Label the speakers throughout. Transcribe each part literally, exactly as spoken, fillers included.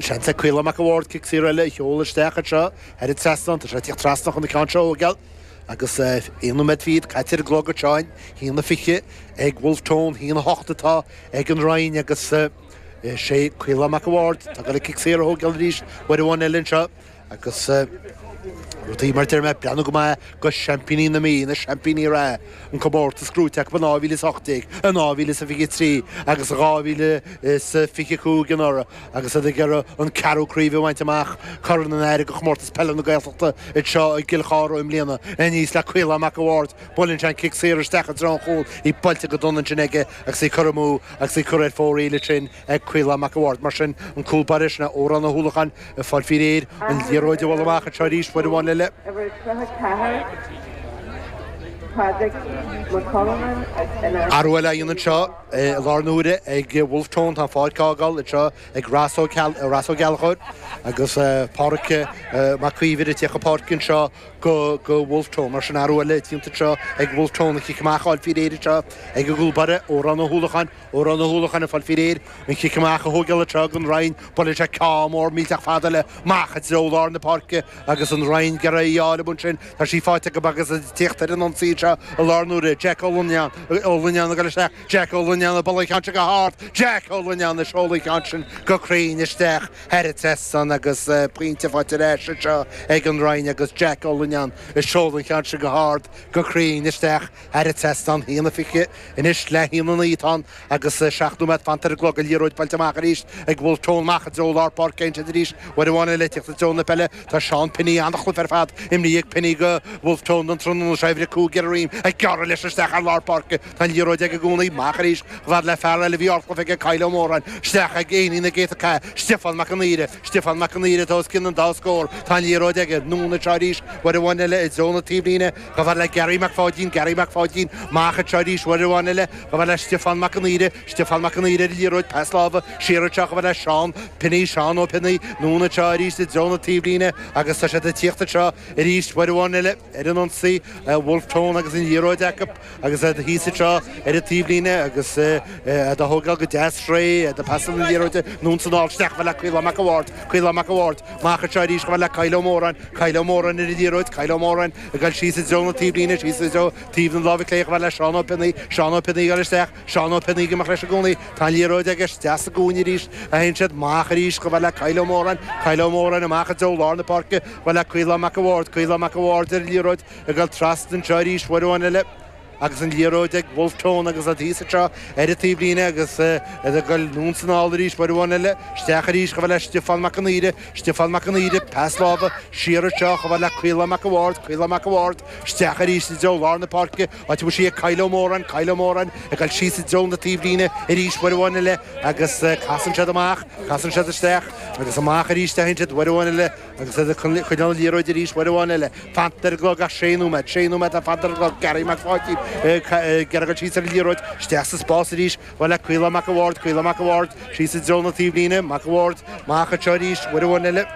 Speaker 1: Seans ag Caolán Mac an Bhaird cic saor eile a sheoladh isteach anseo thar an trasnán. Tá sé ag tíocht trasna chun an ceann seo a thógáil agus aon nóiméad fichead caite ar an gclog anseo a haon a fiche ag Wolfe Tone, a haon a hocht atá ag an Rinn agus is é Caolán Mac an Bhaird atá ag dul an cic saor a thógáil arís uair amháin eile anseo agus rudaí mar deir mé breathnú go maith go seaimpíní na Mí, na seaimpíní reatha, an comórtas gnóite acu in dhá mhíle is ocht déag, in dhá mhíle is a fiche trí agus in dhá mhíle is fiche cúig anuraidh agus iad ag iarraidh an ceathrú craobh a bhaint amach, Corn an Aire do Chomórtas Peile na Gaeltachta anseo i gCill Chartha i mbliana. Aníos le Caolán Mac an Bhaird, buaileann sé an cic saor isteach i dtreo an chúil, í buailte go dona ansin aige agus í curtha amú agus í curtha ar fóraoil ansin ag Caolán Mac an Bhaird. Mar sin, an cúl báire sin é Odhrán Ó hUallacháin ag fáil faoi réir an liathróid a bhualadh amach anseo arís uair amháin eile. Athrú eile á dhéanamh anseo i láthair na huaire ag Wolfe Tone. Tá an pháirc á fhágáil anseo ag Ross Ó Gallchóir agus Pádhraic Mac Íomhair ag tíocht chun páirce anseo go Wolfe Tone. Mar sin athrú eile déanta anseo ag Wolfe Tone. An chic amach á fháil faoi réir anseo ag an gcúl báire, Odhrán Ó hUallacháin. Odhrán Ó hUallacháin ag fáil faoi réir an chic amach a thógáil anseo don Rinn. Buaileann sé ceann mór millteach fada eile amach i dtreo lár na páirce agus an Rinn ag iarraidh í a fháil amuigh ansin. Tá sí faighte acu agus ag tíocht ar an ionsaí anseo i láthair na huaire. Jack Ó Loinneáin, Ó Loinneáin ag dul isteach. Jack Ó Loinneáin ag bualadh an cheann sin go hard. Jack Ó Loinneáin ag seoladh an cheann sin go cruinn isteach thar an trasnán agus pointe faighte ar ais anseo ag an Rinn agus Jack Ó Loinneáin ag seoladh an cheann sin go hard go cruinn isteach thar an trasnán. A haon a fiche anois le haon a naoi atá ann agus seacht nóiméad fanta ar an gclog. An liathróid buailte amach arís ag Wolfe Tone amach i dtreo lár páirce ansin arís uair amháin eile ag tíocht i dtreo na peile. Tá Seán Pinney an-chluiche ar fad imrithe ag Pinney go Wolfe Tone don tráthnóna seo, uimhir a cúig ar a dhroim ag gearradh leis isteach ar lár páirce. Tá an liathróid aige i gcónaí. Amach arís chomh fada le fear eile a bhí ardchluiche aige, Kyle Ó Móráin. Isteach ag éinín na gcéadta cath, Stiofán Mac an Aoire. Stiofán Mac an Aoire atá os cionn an dá scór. Tá an liathróid aige. Anonn anseo arís uair amháin eile i dtreo na taobhlíne. Chomh fada le Gary Mac Pháidín, Gary Mac Pháidín, amach anseo arís uair amháin eile, chomh fada le Stiofán Mac an Aoire, Stiofán Mac an Aoire ar an liathróid, pas láimhe, siar anseo chomh fada le Seán Pinney, Seán Ó Pionnaí, anonn anseo arís i dtreo na taobhlíne agus tá siad ag tíocht anseo arís uair amháin eile ar an ionsaí, Wolfe Tone agus an liathróid acu agus iad thíos anseo ar an taobhlíne agus iad á thógáil go deas réidh, iad ag pasáil na liathróide anonn is anall isteach chomh fada le Caolán Mac an Bhaird, Caolán Mac an Bhaird, amach anseo arís chomh fada le Kyle Ó Móráin, Kyle Ó Móráin ar an liathróid, Kyle Ó Móráin ag dul síos i dtreo na taobhlíne, síos i dtreo taobh na láimhe clé chomh fada le Seán Ó Pionnaí, Seán Ó Pionnaí ag dul isteach, Seán Ó Pionnaí ag imeacht leis i gcónaí, tá an liathróid aige isteach sa gcúinne arís a théann siad, amach arís chomh fada le Kyle Ó Móráin, Kyle Ó Móráin amach i dtreo lár na páirce chomh fada le Caolán Mac an Bhaird, Caolán Mac an Bhaird ar an liathróid ag dul trasna anseo arís uair amháin eile. Agus an liathróid ag Wolfe Tone agus iad thíos anseo ar an taobhlíne agus iad ag dul anonn is anall arís uair amháin eile. Isteach arís chomh fada le Stiofán Mac an Aoire, Stiofán Mac an Aoire, pas láimhe siar anseo chomh fada le Caolán Mac an Bhaird, Caolán Mac an Bhaird, isteach arís i dtreo lár na páirce, áit a bhfuil sí ag Kyle Ó Móráin, Kyle Ó Móráin ag dul síos i dtreo na taobhlíne arís uair amháin eile agus casann siad amach, casann siad isteach agus amach arís a théann siad uair amháin eile. Agus iad ag coinneáil an liathróid arís uair amháin eile. Fanta ar an gclog ach sé nóiméad. Sé nóiméad atá fanta ar an gclog. Gary Mac Pháidín ag iarraidh dul síos ar an liathróid. Isteach sa spás arís. Chomh fada le Caolán Mac an Bhaird. Caolán Mac an Bhaird síos i dtreo na taobhlíne. Mac an Bhaird amach anseo arís uair amháin eile.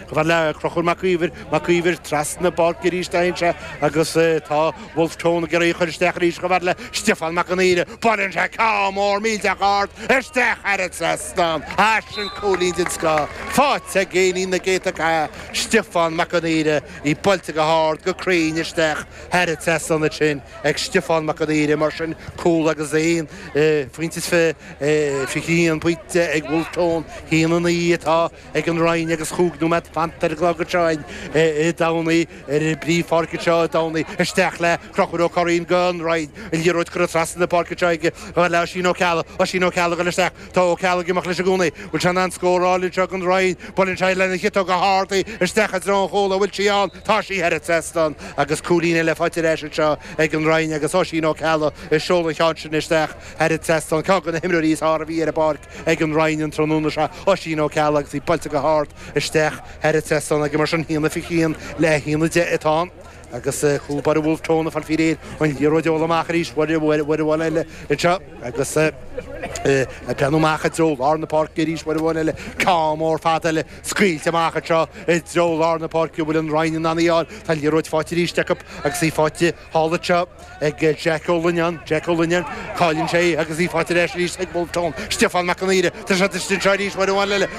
Speaker 1: Chomh fada le Conchúr Mac Íomhair. Mac Íomhair trasna na páirce arís a théann sé agus tá Wolfe Tone ag iarraidh í a chur isteach arís chomh fada le Stiofán Mac an Aoire. Buaileann sé ceann mór millteach ard isteach thar an trasnán. Ah sin cúilín den scoth faighte ag éinín na gcéadta cath, Stiofán Mac an Aoire, í buailte go hard, go cruinn isteach thar an trasnán ansin ag Stiofán Mac an Aoire. Mar sin, cúl agus aon phointe is fiche, fiche a haon pointe ag Wolfe Tone, a haon a naoi atá ag an Rinn agus chúig nóiméad fanta ar an gclog anseo i dTamhnaigh, ar an bpríomhpháirc anseo i dTamhnaigh, isteach le Conchúr Ó Curraoin don Rinn, an liathróid curtha trasna na páirce anseo aige chomh fada le Oisín Ó Ceallaigh, Oisín Ó Ceallaigh ag dul isteach, tá Ó Ceallaigh ag imeacht leis i gcónaí, bhfuil sé in ann scór a fháil anseo don Rinn, buaileann sé lena chiotóg go hard í isteach i dtreo an chúil, an bhfuil sí ann, tá sí thar an trasnán agus cúilín eile faighte ar ais anseo ag an Rinn agus Oisín Ó Ceallaigh ag seoladh an cheann sin isteach thar an trasnán, ceann de na himreoirí is fearr a bhí ar an bpáirc. ag an Rinn an tráthnóna seo, Oisín Ó Ceallaigh agus í buailte go hard isteach thar an trasnán aige mar sin, a haon a fiche haon le a haon a deich atá ann agus cúl báire Wolfe Tone ag fáil faoi réir an liathróid a bhualadh amach arís uair uair amháin eile anseo agus ag breathnú amach i dtreo lár na páirce arís uair amháin eile, ceann mór fada eile scaoilte amach anseo i dtreo lár na páirce, an bhfuil an Rinn in ann í a fháil, tá an liathróid faighte arís acu agus í faighte thall anseo ag Jack Ó Loinneáin, Jack Ó Loinneáin, cailleann sé í agus í faighte ar ais arís ag Wolfe Tone, Stiofán Mac an Aoire, tá sé istigh anseo arís uair amháin eile.